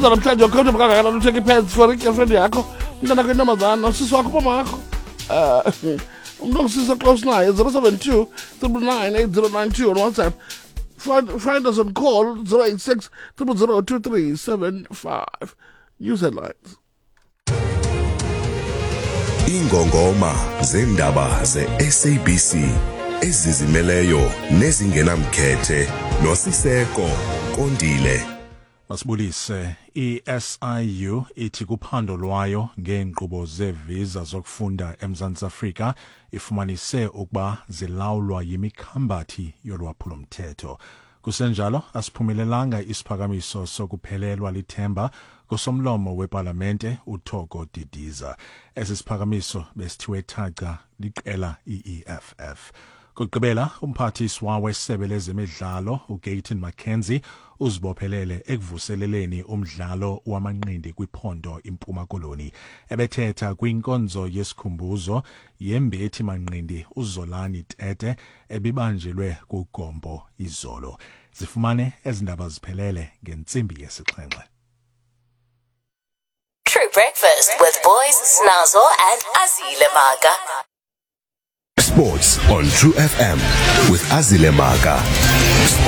Namhlanje ukhombe kangakanani uthenga i-pads for i-girlfriend yakho, umntana wakho, intombazana, usisi wakho, umama wakho, umntu ongusisi close naye. 072 999 8092 on WhatsApp. Find us on call 086 000 2375. News headlines. Ingongoma zendaba ze-SABC ezizimeleyo nezingenamkhethe noSiseko Kondile. Masibulise. I-SIU ithi kuphando lwayo ngeenkqubo zeevisa zokufunda eMzantsi Afrika ifumanise ukuba zilawulwa yimikhambathi yolwaphulomthetho. Kusenjalo, asiphumelelanga isiphakamiso sokuphelelwa lithemba kusomlomo wepalamente uThoko Didiza. Esi siphakamiso besithiwe thaca liqela i-EFF. Kugqibela, umphathiswa wesebe lezemidlalo uGayton McKenzie uzibophelele ekuvuseleleni umdlalo wamanqindi kwiphondo iMpuma Koloni. Ebethetha kwinkonzo yesikhumbuzo yembethi manqindi uZolani Tete ebibanjelwe kuGompo izolo. Zifumane ezindaba ziphelele ngentsimbi yesixhenxe. True Breakfast with Boys, Snazo, and Azile Maga. Sports on True FM with Azile Maga. Sports.